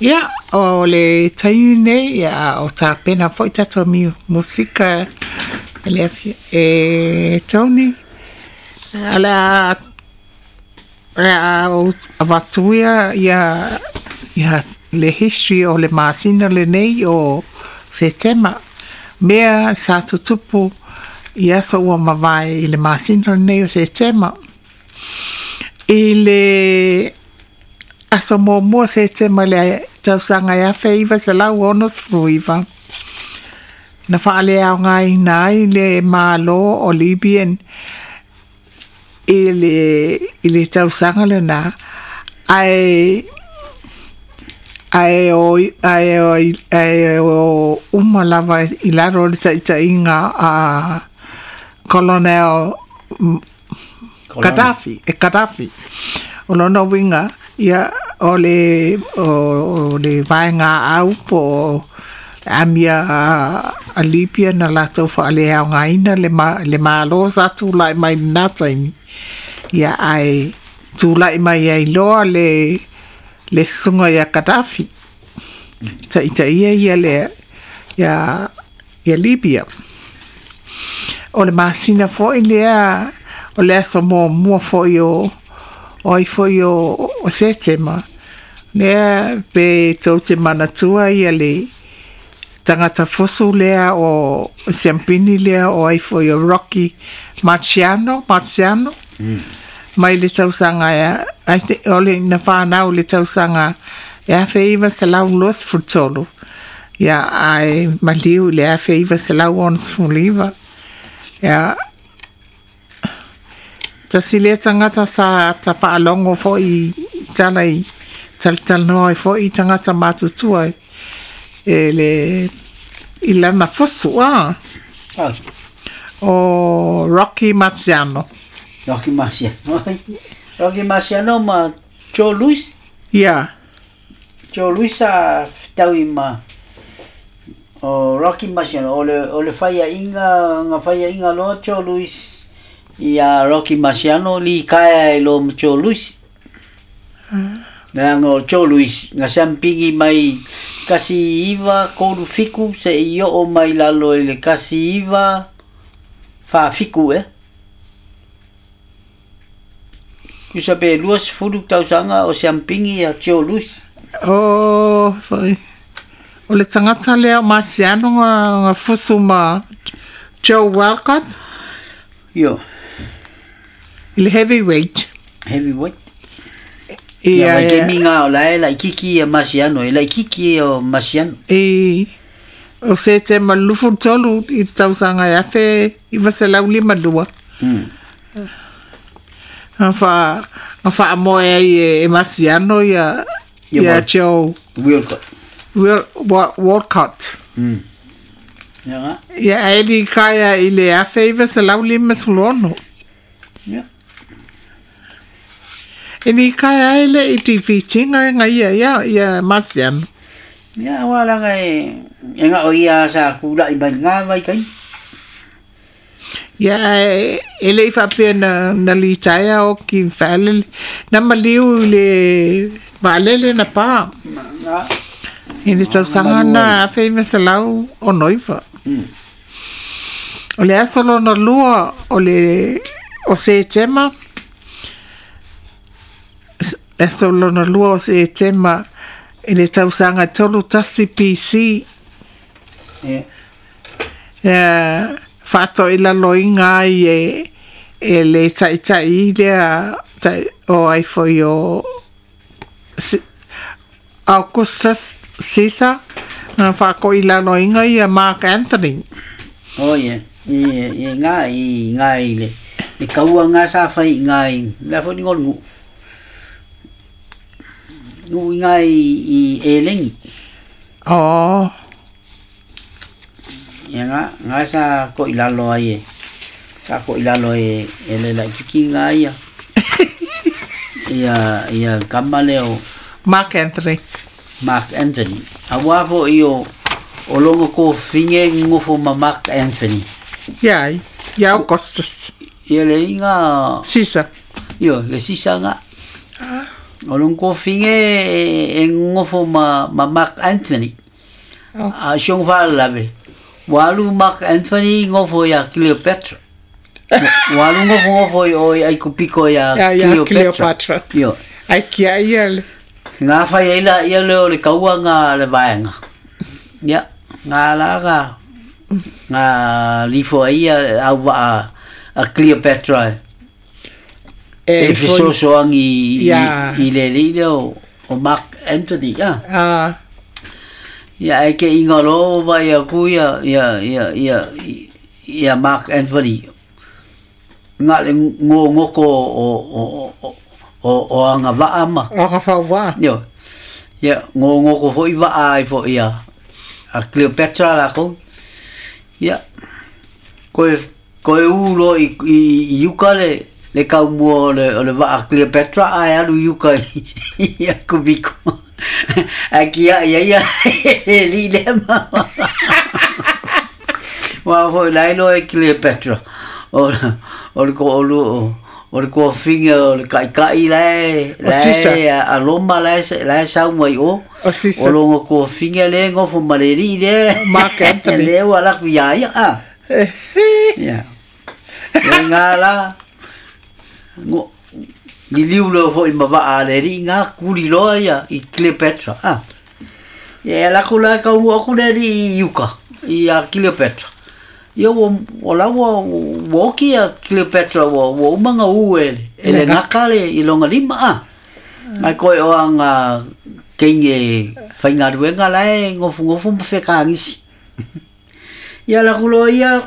Ia, o le taimi nei, ia, o tapena foi tatou musika e le e Tony. O le a o le a ou avatuia ia ia le history o le masina lenei o Setema. Mea sa tutupu i aso ua mavae i le masina lenei o Setema. I le aso muamua o Setema i le tausaga e 1969, na faaleaogaina ai le Malo o Libyan i le, i le tausaga lena, ae ae o, ae o, ae o uma lava i lalo o le taitaiga a Colonel Gaddafi, e Gaddafi. O lona uiga, ia, o le, o, o le vaega au po o le amia a Libya na latou faaleaogaina le, ma, le malo sa tulai mai lena taimi. Ia, ae tulai mai ai loa le, le susuga ia Gaddafi. Taitaia ia le, ia, ia Libya. O le masina foi lea, o le aso muamua foi o, o ai foi o, o Setema, lea pe tou te manatua ia le tagata fusu lea o siampini lea o ai foi o Rocky Marciano, Marciano, mai le tausaga e, I think, o le na whanau le tausaga e 1923, ia ae maliu i le 1969. Ia, tasi lea tagata sa ta faalogo foi i tala i talatalanoa ai foi i tagata matutua e le i lana fusu a o Rocky Marciano. Rocky Marciano. Rocky Marciano ma Joe Louis. Ia. Joe Louis sa fetaui ma o Rocky Marciano. O le, o le faiaʻiga, na faiaʻiga loa Joe Louis ia Rocky Marciano li kaea i loa ma Joe Louis. Leaga o Joe Louis na siampigi mai 1937 seʻi oo mai lalo i le 1947 ea. Tusa pe 20 tausaga o siampigi ia Joe Louis. O, foi. O le tagata lea o Marciano nga, nga fusu ma Joe Walcott. Io. I le heavyweight. Heavyweight. Ia, ia, kemi ngā o la e laʻikiki ia Marciano, e laʻikiki ia o Marciano. I, o Setema 23 i te tausaga e 1952. Na wha, na whaamoe ai e, e Marciano ia, Ia ia ma- Joe Wilcott. Wil, Wa, Walcott. Ia ngā. Ia ae li kaea i le 1956. Ia. E ni kaea ai le i tiwhitinga e nga ia, ia, ia Marciano. Ia, aua laga e, e ngao ia sa kulaʻi mai ngā vai kai. Ia, ae e le i faapea na, na litaea o ki whaalele. Na maliu i le waalele na pā. Ngā. I le tausaga na 1969. O le aso lona lua o le o Setema, aso lona lua o Setema i le tausaga 31 BC, Ia. Ia, faatoilaloina ai e, e le taitai lea tai, o ai foi o Augustus Caesar, na whaakoilaloina ia Mark Anthony. Oh ia, i, i ngā, i ngā i le, le kaua ngā sa whai i ngā i, la fo ni ngolu ngu. Ngu i ngā i, i e lengi. Oh. Ia ngā, ngā sa ko i lalo ai e, sa ko i lalo e, e le laʻikiki ngā ia. Ia, ia kama lea o Mark Anthony. Mark Anthony. Auā foʻi o, o logo kofiga e gogofo ma Mark Anthony. Ia, ia Augustus. Ia le iga Caesar. Io, le Sisa ngā. O lona tofiga e nonofo ma ma Mark Anthony. A o si ona faalavelave, ua alu Mark Anthony nofo iā Cleopatra. Ua alu nofonofo i o i Aikupiko iā Cleopatra. Cleopatra. Ioe. Ae tiai ia le. Ga fai ai laia lea o le taua ga a le vaega. Ia, ga la ga ga lifo ai ia le auvaa a Cleopatra e fesoasoani i le alii lea o Mark Antony. A. Ia, ae te iga loa ua vaai atu ia ia ia ia ia Mark Anthony na o le gogoto o aga vaa ma. O aga fauvaa. Ioe. Ia, gogoto foi vaa ai foi a Cleopatra lakou. Ia, koe koe u loa i i uka le le kaumua o le o le vaa Cleopatra ae alu i uka i Akubiko. Ae kia'i ai ia le alii lea ma Aua foi la e iloa e Cleopatra o o le toalua o le toafine o le taitai la e O Caesar. la e a Roma la e la e sau mai i o. O Caesar. O lona toafine lea e nofo ma le alii lea. Mark Anthony. Lea ua alu atu ia ia a. Ia. Ia nga la ngo liliu loa foi ma vaa a le alii nga kuli loa ia i Cleopatra a. Ia e alu atu la e taunuu atu le alii i uka ia Cleopatra. Ia ua o la ua ua oki ia Cleopatra ua ua uma ona ū e e le gaka le i lona lima a. Ae koe o ana teine faigaluega la e nofonofo ma fekagisi. Ia alu atu loa ia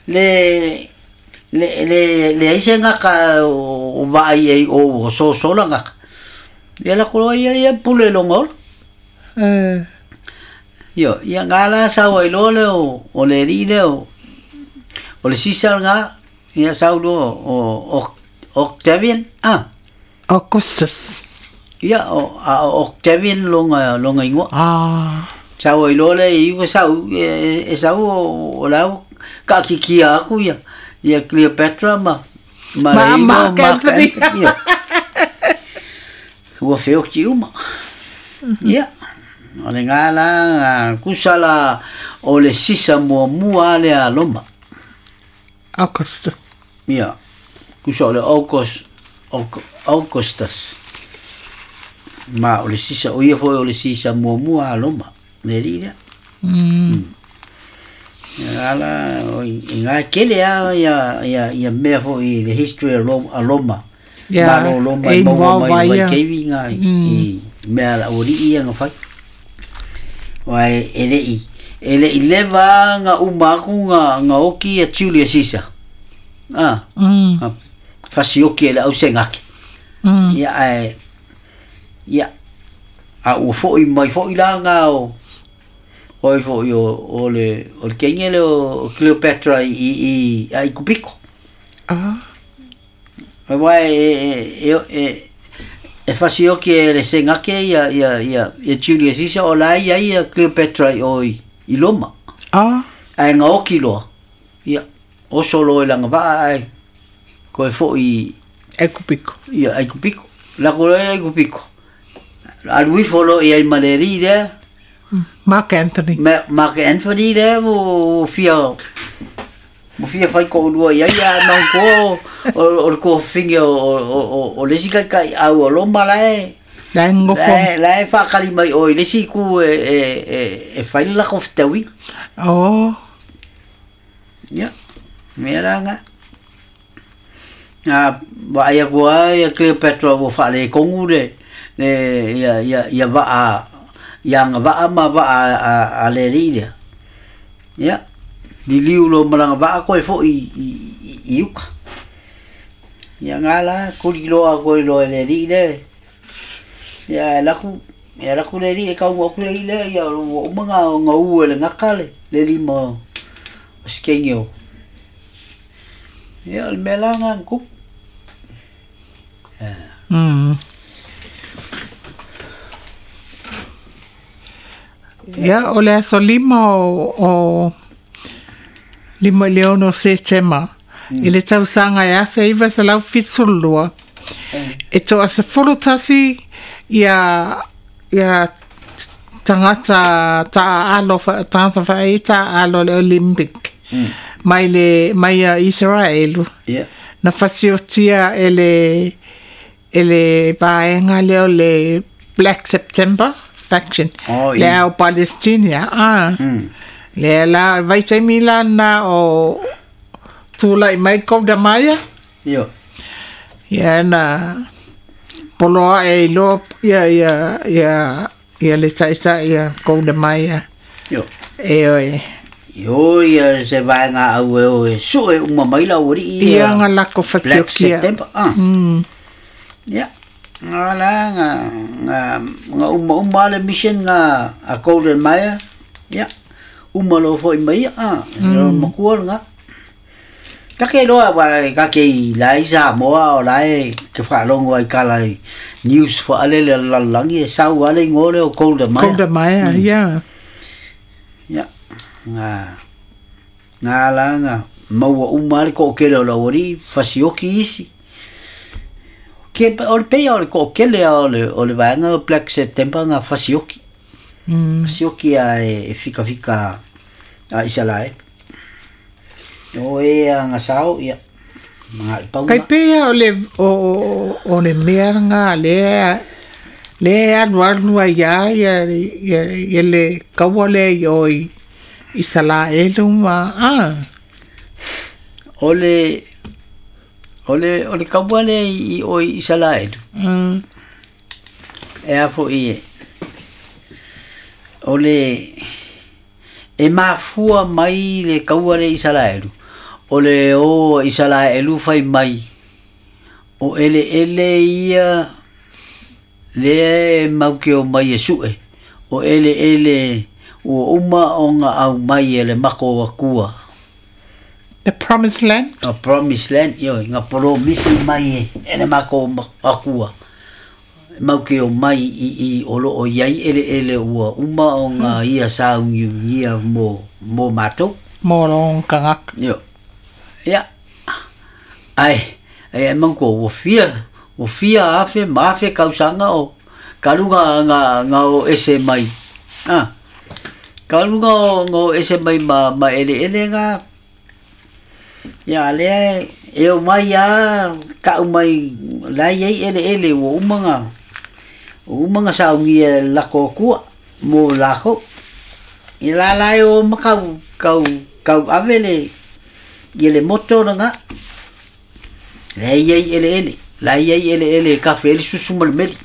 le le le leai se gaka o vaai i ai i o ua sosola gaka. Ia alu atu loa ia ia pule i lona ola. Ioe, ia nga la sau ai loa lea o o le alii lea o o le Sisa lena, ia sau loa o o Octavian, a. Augustus. Ia, o, a o Octavian lona lona igoa. Ah. Sau ai loa lea i uka sau, e, e sau o, o la ua taatitia atu ia, ia Cleopatra ma, ma, Ma le igoa Mark Mark Anthony. Anthony. Ioe. Ua feoti uma. Ia, o lena la, tusa la o le sisa muamua lea a Roma. Augustus. Ia, tusa o le August, Augustus. Ma o le sisa, o ia foi o le sisa muamua a Roma, le alii lea. Ia la, o i ngā kele a ia, ia, ia mea foi i the history of Roma, a Roma. Ia, Malo Roma e i maua mai involve le ai ia. vaikeivi ngā i mea a le aualii ia na fai. Aua e le'i e le'i leva a na uma aku na na oki ia Julius Caesar. A, a fasioki e le ausegake. Ia ae ia a ua fo'i mai fo'i la nga o o ai fo'i o o le o le kenge lea o Cleopatra i i Aikupiko. Ah. Aua e e e e fasioki e le Senake ia ia ia ia Julius Caesar o la e i ai ia Cleopatra i o i i Roma. Ah. Ae gaoki loa. Ia, oso loa i lana vaa ae koe fo'i i Aikupiko. Ia, Aikupiko. Lako loa i Aikupiko. Alu ifo loa i ai ma le alii lea. Mark Anthony. Mark Anthony lea ua fia ua fia fai toalua i ai a manatua o le tuafafine o le isi taitaiau o Roma la e La e nofo. La e faatali mai i o i le isi itu e fai le latou fetauiga. Oh. Ia, mea la lena. A vaai atu lava ia Cleopatra ua faaletonu le le ia ia ia vaa ia agavaa ma vaa a a le alii lea. Ia, liliu loa ma lana vaa toe foi i i i uka. Ia nga la kuli loa koe loa e le alii lea. Ia ae alu atu e alu atu le alii e taunuu atu le alii lea ia ua uma ona u e le gaka le le lima o si teine o. Ia o le mea la lena na tupu. Ia, o le aso lima o, o 5 i le 6 o Setema, i le tausaga e 1972, E 11 ia ia tagata ta'aalo tagata fa'ai ta'aalo le Olympic mai le mai ia Iseraelu na fasiotia e le vaega lea o le Black September faction le au Palestinia lea la vaitaimi la na o tula'i mai Golda Meir ia na poloa e iloa ia ia ia ia le ta'ita'i ia Golda Meir e oe Io ia se vaega au e o e su'e uma mai la auali'i ia ga lako Black fasiokia September ia ga la ga ga ga uma uma le mission ga a Golden Meir ia uma loa fo'i mai ia o makua lagā kake loa wa kake i lai Samoa o lae ke fa'alogo ai kala i news fa'alele a le lalolagi e sau a le igoa lea o Golda Meir Golda Meir ia ia ga ga la ga maua uma le to'atele o le auali'i fasioki isi ke o le peia o le to'atele a o le vaega o Black September ga fasioki fasioki a e fikafika a Isalaele o e aga sao ia maga'i Kai pauga pea o le o le mea lagā lea lea e alualu ai ia ia ia ia le kaua lea i o i Isalaelu ma o le o le o le kaua lea i o i Isalaelu e a fo'i e o le e mafua mai le kaua lea i Isalaelu o le o Isalaelu fai mai o ele'ele ia lea e mau ke o mai e su'e o ele'ele ua uma ona aumai e le mako akua The Promised Land a Promised Land ioe ga polomisi mai e le mako akua mau ke o mai i i o lo'o iai ele'ele ua uma ona ia saugiugia mo mo matou mo lon kangaka io ia ae e mauko ua fia afe ma afe kausaga o kaluga ga ga o ese mai kaluga o ga o ese mai ma ma ele'ele ga ia lea e o mai a ka'u mai la iai ele'ele ua uma ga saugia lako akua mo lako i la la e o ma kau kau kau ave le ia le moto lagā la iai ele'ele la iai ele'ele e kafe ai le susu ma le meli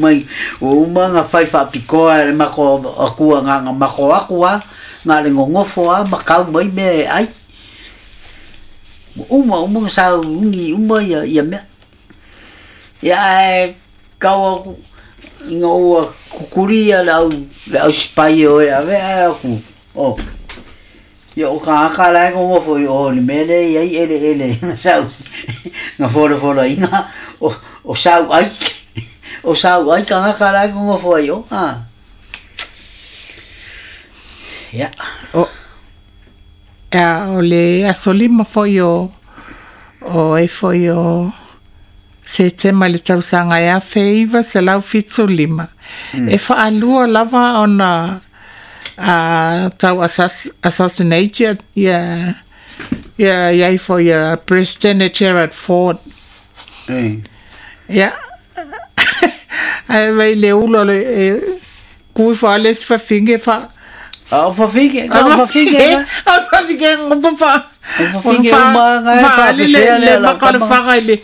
mai ua uma ga fai fa'apikoa e le mako akua gaga mako aku a ga le gogofo a ma kau mai mea e ai ua uma uma ga saugi uma ia ia mea ia ae kau aku ina ua kukuli ia le au sipai o e ave ae aku o ia o kagaka la e gogofo i o le mea lea iai ele'ele ga sau ga folafolaina o sau ai o sau ai kagaka la e gogofo ai o ia o o le aso lima fo'i o o e fo'i o Setema i le tausaga e 1975 e fa'alua lava ona tau assassinate ia ia ia i fo'i ia President Gerald Ford ia ae vai le ula o le e kui fa'ale si fafine fa a o fafine ga o fafine o fafine ngopo fa o fafine uma ga e fa'ale le fa'afefea le lea lau maka o le tama faga i le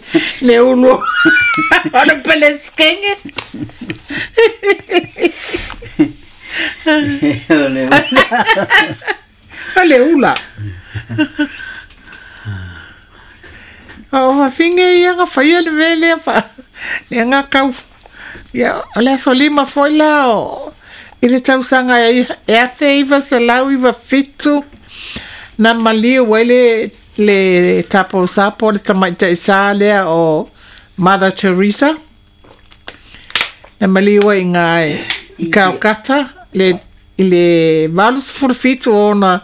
le ulu o le peleskenge o le ula o le ula o fafine ia ga faia le mea lea fa le ga kau ia o le aso lima fo'i la o i le tausaga e 1997 na maliu ai le le taposapo le tamaitaʻisā lea o Mother Teresa na maliu ai gā i Calcutta le i le 87 ona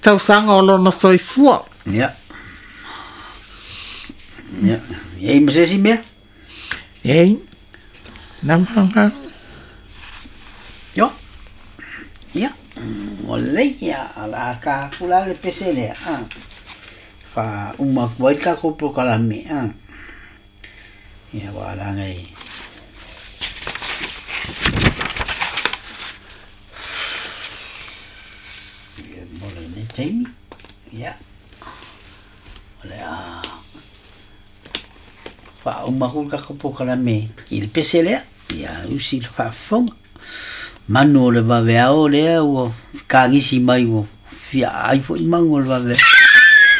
tausaga o lona soifua ia ia E i ma se isi mea? Ei, nama Io. Ia. Ua lelei, ia, o le a ka aku la le pese lea, a. Fa uma atu ai le tatou polokalame, a. Ia, ua leaga e Ia, mo lenei taimi, ia, o le a faauma atu le tatou polokalame i le pese lea, ia usi le faafofoga. Manu o le vaveao lea ua kagisi mai ua fia ai foi manu o le vaveao.